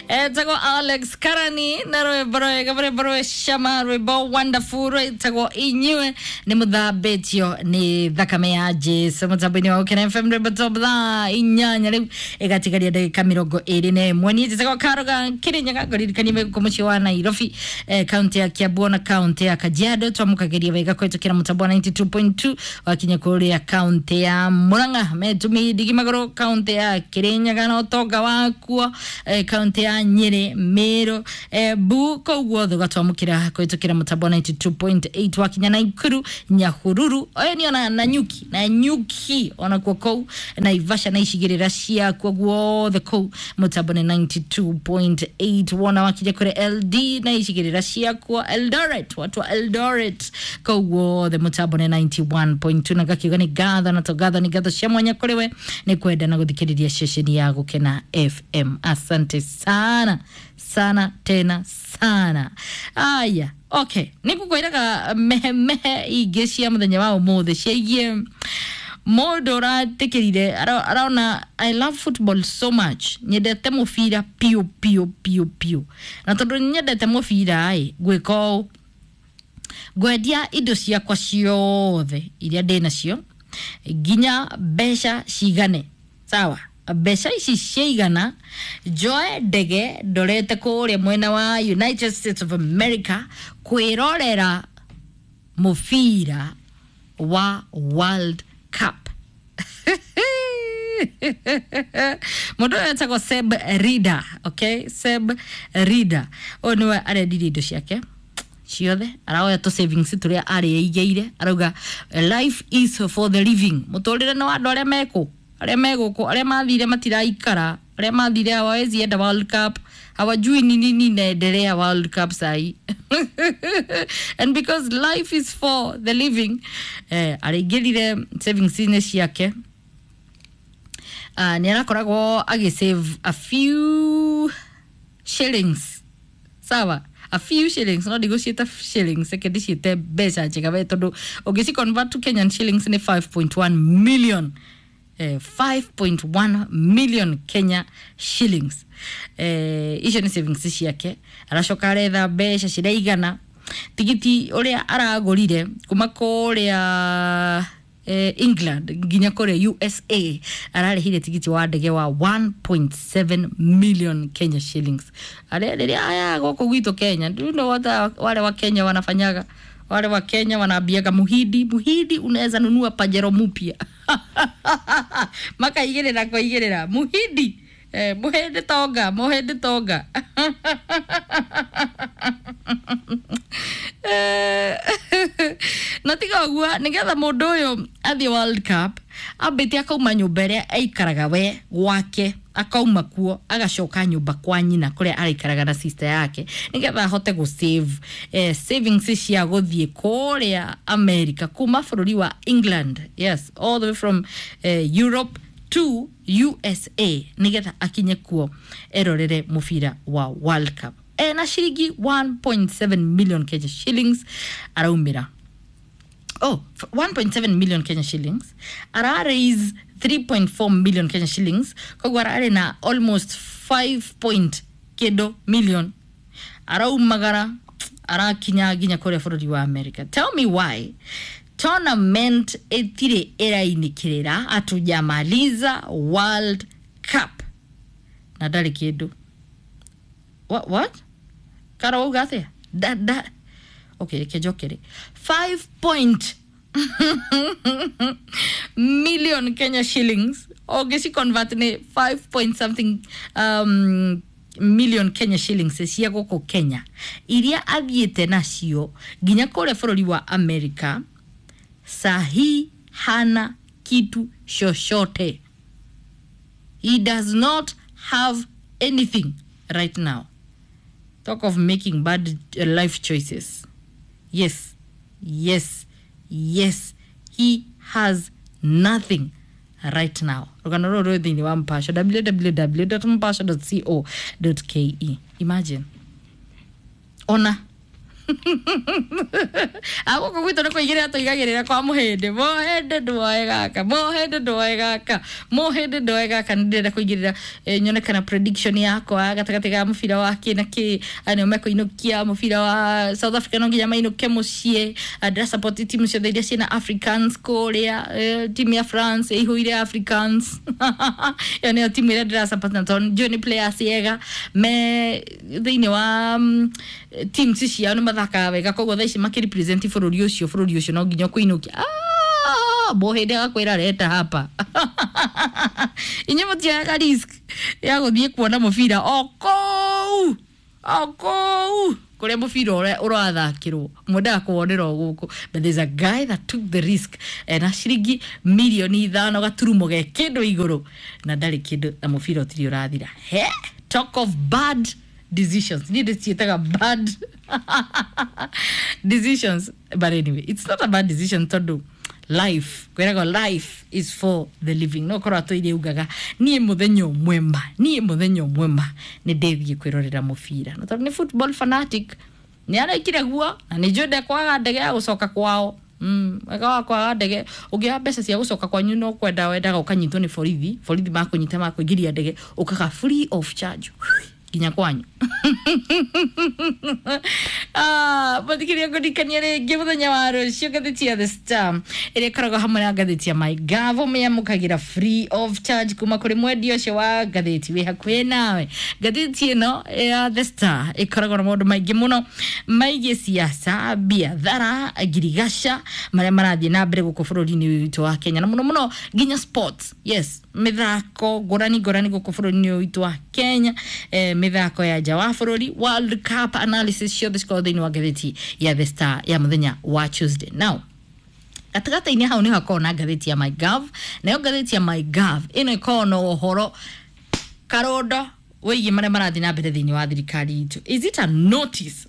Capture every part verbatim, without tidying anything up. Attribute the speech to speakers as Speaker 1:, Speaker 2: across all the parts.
Speaker 1: Etagwo Alex Karani na rwimbo rwega rwimbo rwĩ cama, rwimbo wonderful rwĩtagwo Inyue nĩ mũthambĩtio nĩ thakame ya Jesu. Mũtambo-inĩ wa Gũkena F M, rwimbo top thaa inyanya rĩu ĩgatigaria ndagĩka mĩrongo ĩrĩ na ĩmwe. Niĩ njĩtagwo Karoga Kĩrĩnyaga, ngũririkanie gũkũ mũciĩ wa Nairobi, eh, kaunti ya Kiambu na kaunti ya Kajiado twamũkagĩria wega kũhetũkĩra mũtambo wa ninety-two point two. Wakinya kũrĩa kaunti ya Murang'a metumi ndigi magũrũ, kaunti ya Kirinyaga na ũtonga wakuo, eh, kaunti ya Nyeri, Meru, eh, bu kũu guothe ũgatwamũkĩra kũhetũkĩra mũtambo wa ninety-two point eight. Wakinya Naikuru, Nyahururu, oyo nĩ ona Nanyuki, Nanyuki onakuo kũu Naivasha na icigĩrĩra ciakuo guothe kũu mũtambo nĩ ninety-two point eight. Wona wakinya kũrĩ L D na icigĩrĩra ciakuo, Eldoret, watu wa Eldoret kũu guothe mũtambo nĩ ninety-one point two. Na ngakiuga nĩ ngatho na to ngatho nĩ ngatho cia mwanya kũrĩ we nĩ kwenda na gũthikĩrĩria ceceni ya Gũkena F M. Asante sana sana tena sana. Aya, okay, nĩ ngũkwĩraga mehemehe ingĩ cia mũthenya wa ũmũthĩ ciĩgiĩ mũndũ ũratĩkĩrire arona "I love football so much, nyendete mũbira piũ piũ piũ piũ, na tondũ nyendete mũbira ĩ ngwĩka ũũ, ngwendia indo ciakwa ciothe iria ndĩ nacio nginya mbeca cigane. Sawa, mbeca ici ciaigana njoe ndege ndorete kũrĩa mwena wa United States of America kwĩrorera mũbira wa World Cup." Mũndũ ũyũ etagwo Seb Rida. Okay, Seb Rida ũyũ nĩwe arendirie indo ciake ciothe, araoya tũ savings tũrĩa arĩigĩire, arauga "Life is for the living", mũtũrĩre nĩ wa andũ arĩa mekũ, arĩa megũkũ, arĩa mathire matiraikara, arĩa mathire hawawezi enda World Cup, hawajui ni nini inaendelea World Cup sahi. And because life is for the living, eh, araingĩrire savings-inĩ ciake. uh, nĩ arakoragwo agĩsave a few shillings, sawa, a few shillings, no ndigũciĩta shillings, reke ndĩciĩte mbeca njega we, tondũ ũngĩci convert to Kenyan shillings nĩ five point one million, eh, five point one million Kenya shillings. eh, icio nĩ savings ciake. Aracoka aretha mbeca ciraigana tigiti ũrĩa aragũrire kuma kũrĩa eh, England nginya kũrĩa U S A. Ararĩhire tigiti wa ndege wa one point seven million Kenya shillings. Arĩa rĩrĩa aya gũkũ gwitũ Kenya, do you know what wale wa Kenya wanafanyaga? Wale wa Kenya wanaambiaga muhindi, "Muhindi, unaweza nunua Pajero mupya." Makaigĩrĩra kũigĩrĩra muhindi, eh, muhindi tonga, muhindi tonga. Eh, na tiga ũguo, nĩgetha mũndũ ũyũ athiĩ World Cup ambĩte akauma nyũmba ĩrĩa aikaraga we gwake, akauma kuo agacoka nyũmba kwa nyina kũrĩa araikaraga na sister yake, nĩgetha ahote gũ save eh, savings cia gũthiĩ kũrĩa America kuma bũrũri wa England, yes, all the way from eh, Europe to U S A, nĩgetha akinye kuo erorere mũbira wa World Cup. Ena ciringi one point seven million Kenya shillings araumĩra. Oh, f- one point seven million Kenya shillings, ara raise three point four million Kenya shillings, koguo ararĩ na almost five point kĩndũ million. Araumagara arakinya nginya kũrĩa bũrũri wa America. Tell me why tournament ĩtirĩ ĩrainĩkĩrĩra, hatujamaliza World Cup na ndarĩ kĩndũ. What, what? Karo uga atĩa? Da, da. Okay, reke njokere. five point million Kenya shillings ũngĩci convert nĩ five point something um, million Kenya shillings cia gũkũ Kenya iria athiĩte nacio nginya kũrĩa bũrũri wa America. Sahi hana kitu chochote. He does not have anything right now. Talk of making bad uh, life choices. Yes, yes, yes, he has nothing right now. Rũgano rũrũ rwĩ thĩinĩ wa Mpasho, w w w mpasho co ke. Imagine ona Agũkũ gwitũ nĩ kũigĩrĩra tũigagĩrĩra kwa mũhĩndĩ. Mũhĩndĩ ndwoe gaka, mũhĩndĩ ndwoe gaka, mũhĩndĩ ndwoe gaka. Nĩ ndĩrenda kũigĩrĩra eh, nyone kana prediction yakwa gatagatĩ ga mũbira wa kĩ na kĩ, nĩo mekũinũkia mũbira wa South Africa, no nginya mainũke mũciĩ. Ndĩra support timu ciothe iria ciĩna Africans kũrĩa, eh, timu ya France ĩihũire Africans, ĩyo nĩyo timu ĩrĩa ndĩra support, na tondũ njũĩ nĩ players ega me thĩinĩ wa mm, teams ciao, nĩ mathakaga wega, koguo thaa ici makĩrepresent bũrũri ũcio, bũrũri ũcio no nginya kũinũkia. Ah, mũhĩndĩ agakwĩra reta hapa, inyuĩ mũtioyaga risk ya gũthiĩ kuona mũbira o kũu, o kũu kũrĩa mũbira ũrĩa ũrathakĩrwo, mwendaga kuwonera o gũkũ. But there's a guy that took the risk na ciringi mirioni ithano gaturumo ge kĩndũ igũrũ, na ndarĩ kĩndũ, na mũbira ũtirĩ ũrathira. He talk of bad decisions, niĩ ndĩciĩtaga bad decisions, but anyway, it's not a bad decision tondũ life, kwĩragwo life is for the living. No korwo atũire ugaga niĩ mũthenya ũmwe ma, niĩ mũthenya ũmwe ma nĩ ndĩthiĩ kwĩrorera mũbira, na tondũ nĩ football fanatic nĩ arekire guo, na nĩ njũĩ ndekwaga ndege ya gũcoka kwao. Mm, wega wa kwaga ndege, ũngĩoya mbeca cia gũcoka kwanyu no kwenda wendaga ũkanyitwo nĩ borithi, borithi makũnyita makũingĩria ndege, ũkaga free of charge nginya kwanyu. Ah, mũthikĩria, ngũririkania rĩngĩ mũthenya wa rũciũ ngathĩti ya The Star ĩrĩa ĩkoragwo hamwe na ngathĩti ya MyGov ũmĩamũkagĩra free of charge kuma kũrĩ mwendia ũcio wa ngathĩti wĩ hakuhĩ nawe. Ngathĩti ĩno ya The Star ĩkoragwo na maũndũ maingĩ mũno maigiĩ siasa, biathara, ngirigaca, marĩa marathiĩ na mbere gũkũ bũrũri-inĩ ũyũ witũ wa Kenya, na mũno mũno nginya sports, yes, mĩthako ngũrani ngũrani gũkũ bũrũri-inĩ ũyũ witũ wa Kenya, eh, mĩthako ya nja wa bũrũri, World Cup analysis, ciothe cikoragwo thĩinĩ wa ngathĩti ya The Star ya mũthenya wa Tuesday. Now gatagatĩ-inĩ hau nĩ hakoragwo na ngathĩti ya MyGov, nayo ngathĩti ya MyGov ĩno ĩkoragwo na ũhoro karondo wĩgiĩ marĩa marathiĩ na mbere thĩinĩ wa thirikari itũ. Is it a notice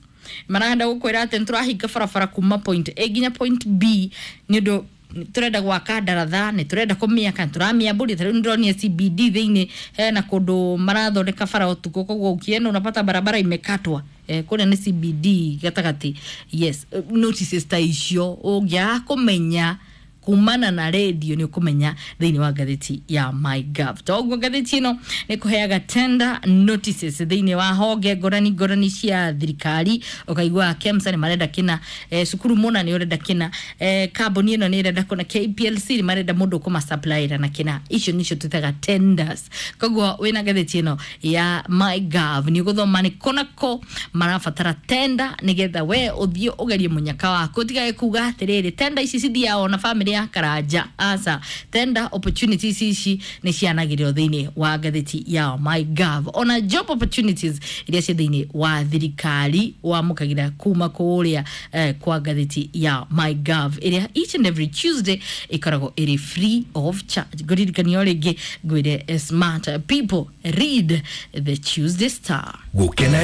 Speaker 1: marenda gũkwĩra atĩ nĩ tũrahinga barabara kuma point A nginya point B nĩ ũndũ turenda gwaka ndaratha, nĩ turenda kũmĩaka, nĩ tũramĩambũria? Ta rĩu nĩndĩronire C B D thĩinĩ hena kũndũ marathondeka bara ũtukũ, koguo ukienda unapata barabara imekatwa. Eh, kũrĩa nĩ C B D gatagatĩ. Yes, notices ta icio ũngĩaga kũmenya kumana na radio, nĩ ũkũmenya thĩinĩ wa ngathĩti ya MyGov. Toguo ngathĩti ĩno nĩ kũheaga tender notices thĩinĩ wa honge ngũrani ngũrani cia thirikari, ũkaigua KEMSA nĩ marenda kĩna, eh, cukuru mũna nĩ ũrenda kĩna, eh, kambuni ĩno nĩ ĩrenda kũna, K P L C nĩ marenda mũndũ ũkũmasupplyĩra na kĩna. Icio nicio twĩtaga tenders. Koguo wĩna ngathĩti ĩno ya MyGov nĩ ũgũthoma nĩ kũ na kũ marabatara tender, nĩgetha we ũthiĩ ũgerie mũnyaka waku, ũtigage kuga atĩrĩrĩ, tender ici cithiaga ona famĩlĩ ya Karanja. Aca, tender opportunities ici nĩ cianagĩrĩrwo thĩinĩ wa ngathĩti ya MyGov. Ona job opportunities iria ciĩ thĩinĩ wa thirikari wamũkagĩra kuma kũrĩa eh, kwa ngathĩti ya MyGov ĩrĩa each and every Tuesday ĩkoragwo ĩrĩ free of charge. Ngũririkania o rĩngĩ ngwĩre, eh, smart people read the Tuesday Star.
Speaker 2: Gũkena.